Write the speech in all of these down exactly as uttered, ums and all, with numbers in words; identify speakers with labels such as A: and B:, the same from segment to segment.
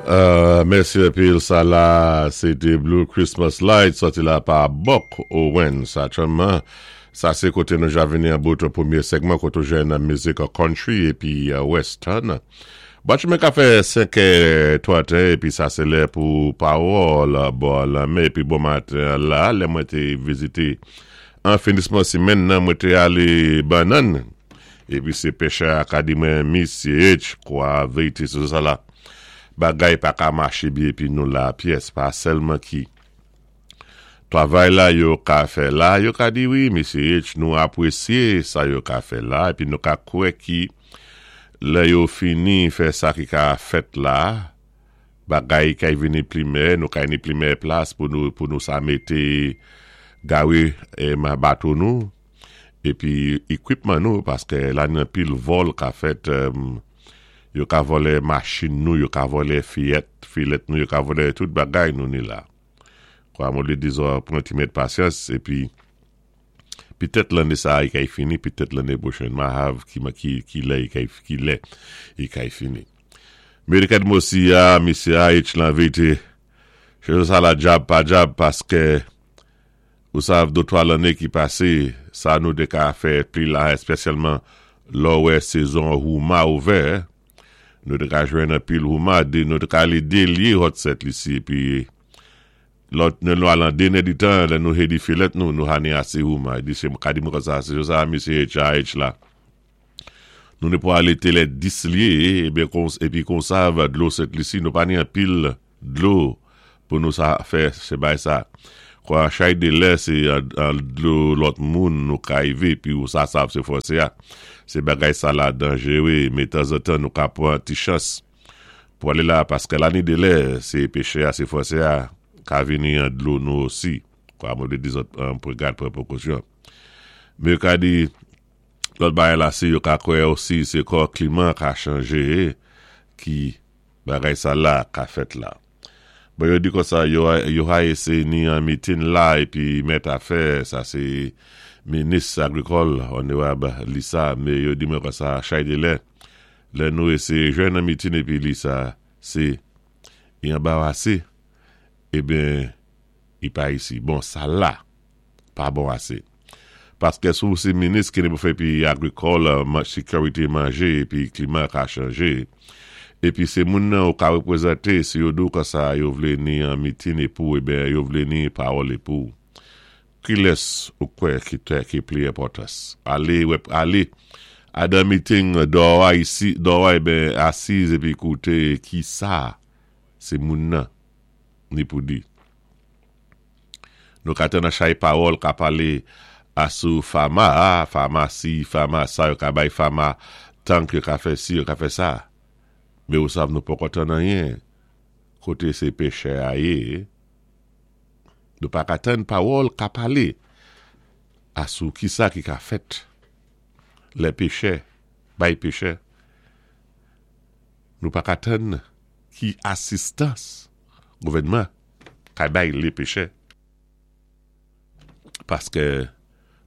A: Euh, mèsi anpil, sa la, sé té Blue Christmas Light, sòti la pa Buck Owens. Aktyèlman, sa sé koté nou ja vini an bout pwémyé segman koté jwenn mizik country épi uh, western. Batchoumen ka fè senk tranteyen épi sa sé lè pou pawòl bò lanmè épi bon maten la, lè mwen té vizité an finisman simenn nan mwen té alé Bannann épi sé péchè a ka di mwen misyé H kwa vérité sou sa la bagay pa ka maché byen épi nou la pyès pa sèlman ki travay la yo ka fè la yo ka di wi misyé H nou apwésyé sa yo ka fè la épi nou ka kwè ki lè yo fini fè sa ki ka fèt la bagay kay vini pli meyè nou kay ni pli meyè plas pou nou pou nou sa mété gawe é ma bato nou épi ékwipman nou paské la ni anpil vòl ka fèt euh, yo ka vòlè machin nou, yo ka vòlè fiyèt, filèt nou, yo ka vòlè tout bagay nou ni la. Kwa mwen li dizon pran ti mèt pasyans épi pitèt lanné sa i kay fini, pitèt lanné pwochèn ma hav ki ki ki lè i kay ki lè i kay fini. Mérikat mosi a, misyé H lan vérité, choz sa la djab pa djab paské ou sav dé twa lanné ki pasé, sa nou té ka fè pli la espesyalman lò wè sezon houma ouvè, nou té ka jwenn anpil houma, dé, nou té ka alé délyé Haute Sainte Lucie épi lòt nou nou al an dénè di tan, lè nou hedi filèt nou, nou hani asé houma, di sé ka di mwen kon sa, sé sa misyé H A H la. Nou ni pou alé télé dis lyé, ébi kon, épi kon sa va dlo Sent Lisi, nou pa ni anpil dlo pou nou sa fè sé bay sa. Kwa chay de lè sé an dlo lòt moun nou ka rivé, pi ou sa sav sé fòsé a. Sé bagay sa la danjéwé, mé tanzantan nou ka pran ti chans pou alé la, paské la ni de lè, sé péchè a, sé fòsé a, ka vini an dlo nou osi. Kwa mwen di zòt, an pou gad pran pwékosyon. Mé yo ka di, lòt bagay la si yo ka kwè osi, sé kò kliman ka chanjé, ki bagay sa la ka fèt la. Bon, yo di kon sa, yo, yo ha éséyé ni an meeting la, épi mèt afè, sa sé minis agrikòl, Onorab Lisa, mé yo di mwen kon sa, chay de lè, lè nou éséyé jwenn an meeting épi Lisa, sé, i anbarasé, ébyen, i pa isi. Bon, sa la, pa bon asé. Paské sou sé minis ki ni pou fè pi agrikòl, sékirité manjé, épi kliman ka chanjé, épi sé moun nan ou ka wépwézanté, si yo di ou kon sa, yo vlé ni an meeting épou, ébyen, yo vlé ni pawòl épou. Ki lès ou kwè ki te ki pli enpòtans? Alé, wép, alé, adan meeting dò a isi, dò a ébyen, asiz épi kouté ki sa, sé moun nan, ni pou di. Nou ka tann an chay pawòl ka palé asou fama, fama si, fama sa, yo ka bay fama tank yo ka fè si, yo ka fè sa. Mé ou sav nou poko tann anyen, koté sé péchè a yé, nou pa ka tann pawòl ka palé asou ki sa ki ka fèt. Lè péchè, bay péchè. Nou pa ka tann ki asistans gouvèdman ka bay lé péchè. Paské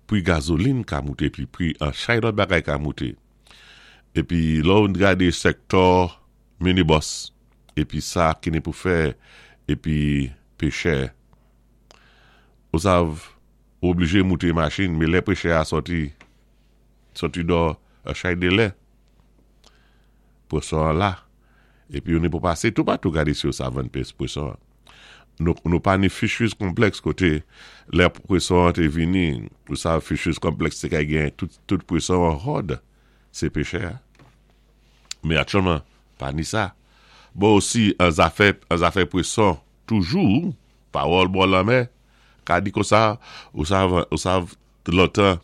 A: pri gazolin ka mouté, pi pri an chay lòt bagay ka mouté. Épi lò ou gadé sektò minibus, épi sa ki ni pou fè, épi péchè. Ou sav, ou oblijé mouté machin, mé lè péchè a sòti, sòti dò a chay de lè. Pwéson la. Épi ou ni pou pasé tout patou gadé si yo sa vann pès pwéson. Nou, nou pa ni Fisheries Complex koté lè pwéson té vini, ou sa Fisheries Complex sé kay gen tout, tout pwéson an hòd, sé péchè. Mé aktyèlman, pa ni sa. Bon osi, an zafè, an zafè pwéson, toujou, pawòl bò lanmè, ka di kon sa, ou sav, ou sav lontan,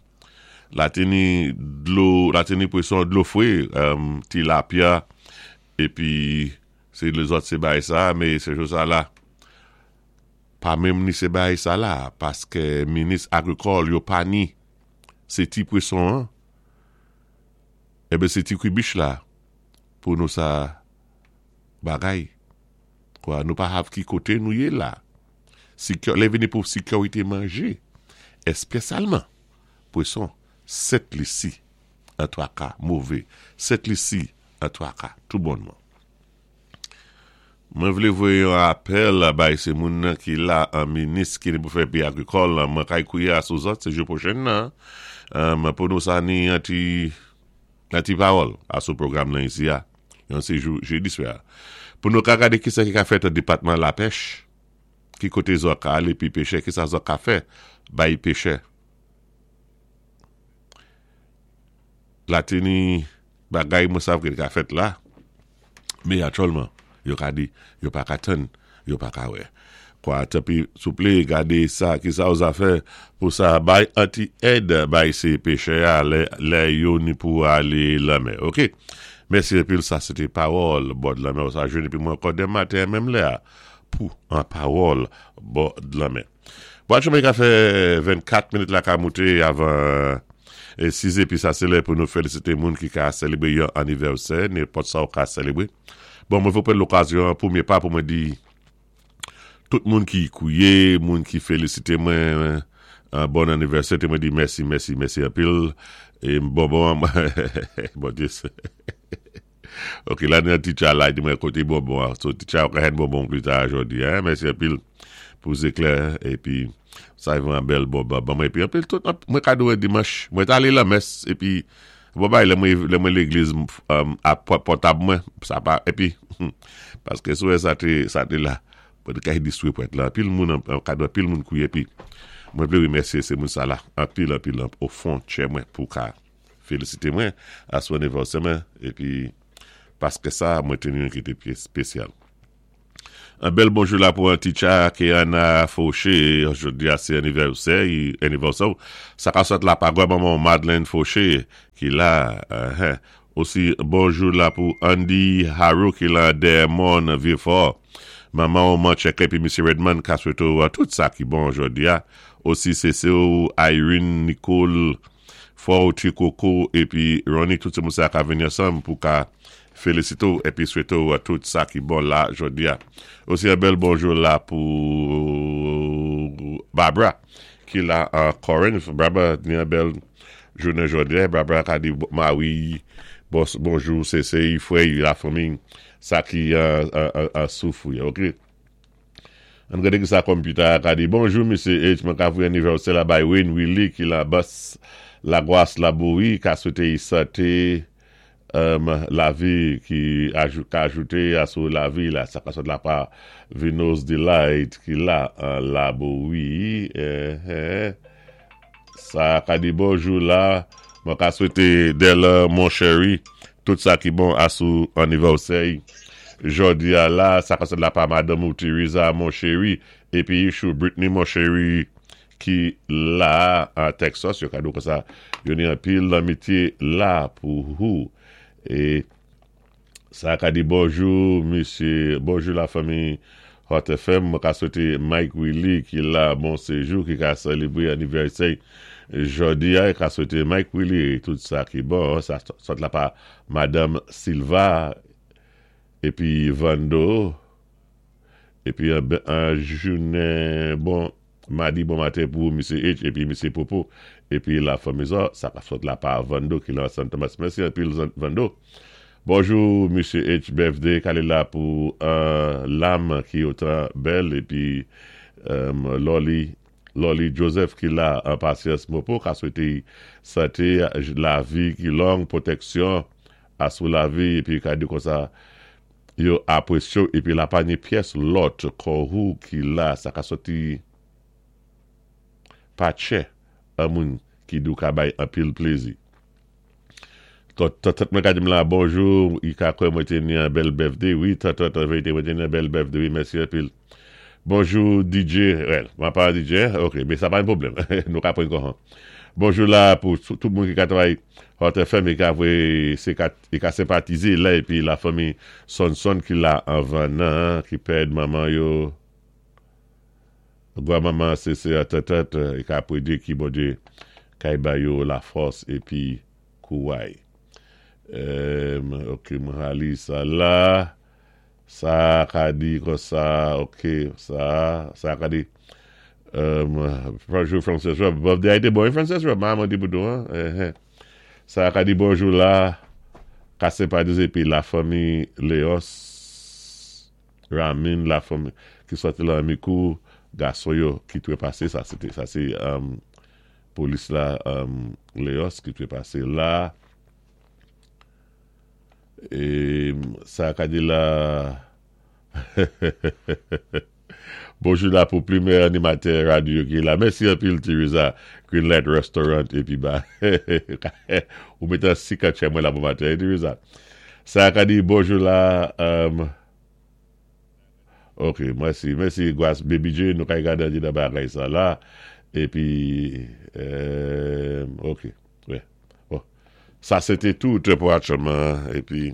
A: la té ni dlo, la té ni pwéson dlo fwé, um, tilapya, épi sé lézòt sé bay sa, mé sé jou sa la, pa menm ni sé bay sa la, paské minis agrikòl yo pa ni, sé ti pwéson an, ébyen sé ti kribich la, pou nou sa bagay. Kwa, nou pa hav ki koté nou yé la. Sékir, lè vini pou sékirité manjé, espesyalman, pwéson, Sent Lisi, an twaka, mové, Sent Lisi, an twaka, tou bonnman. Mwen vlé voyé yon apèl bay sé moun nan ki la an minis ki ni pou fè péyi agrikòl mwen kay kouwé asou zòt sé jou pwochèn nan um, pou nou sa ni an ti an ti pawòl asou pwogram nan isi a yon sé jou jedi swa pou nou ka gadé ki sa ki ka fèt an depatman lapèch ki koté zòt ka alé pi péché ki sa zòt ka fè bay péchè la té ni bagay mwen sav ki ka fèt la mé aktyèlman yo ka di yo pa ka tann yo pa ka wè kwa tanpwi souplé gadé sa ki sa ou zafè pou sa bay an ti èd bay sé péchè a lè, lè yo ni pou alé lanmè ok mèsi anpil sa sé té pawòl bò lanmè ou sa jwenn épi mwen ankò denmen maten menm lè a pou an pawòl bò lanmè bon aktyèlman i ka fè vennkat minit la ka mouté avan sis épi sa sé lè pou nou félisité moun ki ka sélébwé yon anivèsè nenpòt sa ou ka sélébwé bon mwen vlé pran lokazyon pwémyé pa pou mwen di tout moun ki kouwé moun ki félisité mwen an bon anivèsè té mwen di mèsi mèsi mèsi anpil é bon bon bon Dye ok la ni teacher la di mwen koté bonbon so teacher ka jwenn bonbon pli ta jòdi a en mèsi anpil pou zéklè épi sa yon bèl bonbon bon mwen épi anpil tout mwen kado dimanch mwen alé lamès épi bon bay lè mwen lè mwen légliz um, a pòtab mwen sa pa épi paské sou sa té sa té la mwen ka distwé pou èt la anpil moun an kado anpil moun kouwé épi mwen vlé wémèsyé sé moun sa la anpil anpil o fon tchè mwen pou ka félisité mwen asou anivèsè mwen épi paské sa mwen té yon ki té spésyal An bèl bonjou la pou an teacher Kéana Fauché, jòdi a sé anivèsè, anivèsè. Sa ka sot la pa manman Madeleine Fauché ki la. Uh, Osi bonjou la pou Andy Harrow ki la Dermont Vieux-Fort. Manman Mancheke épi Misye Redmond ka swété tout sa ki bon jòdi a. Osi sé sè Irene Nicole Fort Coco épi Ronnie tout sé moun sa ka vini ansanm pou ka félisité épi swété tout sa ki bon la jòdi a. Osi an bèl bonjou la pou Barbara ki la an Corinth. Barbara ni an bèl jounen jòdi a. Barbara ka di Mawi bon, bonjou sé sé frè lafanmi sa ki an an soufwi OK. An gadé ki sa computer ka di bonjou Misye H mwen ka voyé anivèsè la bay Wayne Willy ki la bas Lagwas Laboui ka swété santé um, lavi ki ajou, ka ajouté asou lavi la sa ka sot la pa Vinos Delight ki la an Laboui eh, eh. Sa ka di bonjou la mwen ka swété Dela mon chéri tout sa ki bon asou anivèsè jòdi a la sa ka sot la pa Madame ou Teresa mon chéri épi chou Britney mon chéri ki la an Texas yo ka di konsa yo ni anpil lanmityé la pou ou é sa ka di bonjou misye bonjou lafanmi Hot F M mwen ka swété Mike Willy ki la bon séjou ki ka sélébwé anivèsè jòdi a ka swété Mike Willy tout sa ki bon sa sot la pa Madame Silva épi Vando épi an, an jounen bon madi bon maten pou Misye H épi Misye Popo épi lafanmi sa sa ka sot la pa Vando ki la San Thomas mèsi anpil Vando bonjou Misye H birthday kalé la pou uh, lam ki otan bèl épi um, Loli Loli Joseph ki la an pasyans mopo ka swété santé lavi ki long pwotèksyon asou lavi épi ka di konsa yo apwésyé épi la pa ni pyès lòt kòhou ki la sa ka soti pa tchè an moun ki dou ka bay anpil plézi. Tèt mwen ka di m la bonjou, i ka kwè mwen té ni an bèl birthday, wi, tèt tèt an vérité mwen té ni an bèl birthday, wi, mèsi anpil. Bonjou D J, well, mwen pa D J, ok, mé sa pa yon pwoblèm, nou ka pran kòhan. Bonjou la pou tout moun ki ka travay Hot F M e ka vwe, se ka, e ka senpatizé la, épi lafanmi Son Son ki la anvan nan, ki pèd manman yo, gwa manman sé sé tèt tèt, e ka pwédé ki Bondye kay ba yo lafòs épi kouway. Um, ok, mwen ali sa la, sa ka di konsa, ok, sa, sa ka di, um, bonjou Frances Rob, birthday a été bon, Frances Rob, maman di pou hein, eh, eh. Sa ka di bonjou la, ka senpatize épi lafanmi Léos, Ramin la fanmi ki sòti la Mikou, gason yo ki twépasé, sa sé sa sé um, polis la um, Léos ki twépasé la. É sa ka di la. Bonjou la pou pwémyé animatè radyo ki la. Mèsi anpil, Teresa. Greenlight Restaurant épi ba. Ou mété si katchè mwen la pou maten, Teresa. Sa ka di bonjou la. Um, ok, mèsi. Mèsi, Gwas Baby J. Nou ka gadé di nan bagay sa la. Épi, euh, ok. Ouais. Bon. Sa sé té tout pou aktyèlman. Épi,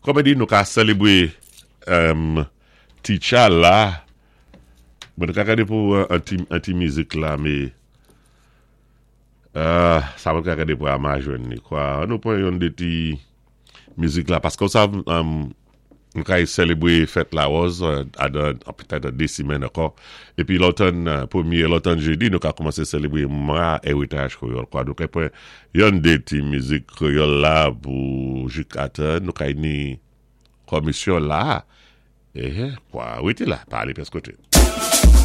A: kòm di nou ka sélébwé um, Ticha la. Bon, nou ka gadé pou an ti, an ti mizik la, mé euh, sa mwen ka gadé pou ama jwenn ni, kwa. An nou pwan yon dé ti mizik la, paski sa, um, nou ka sélébwé fèt Lawòz adan, petèt dé simèn ankò. Épi lòtann, pwémyé, lòtann jédi, nou ka kòmansé sélébwé mwa éritaj kwéyòl, kwa. Nou ka pwan yon dé ti mizik kwéyòl la pou jikatan, nou ka ni komisyon la. Eh, kwa, wi, la, pa alé pyès koté.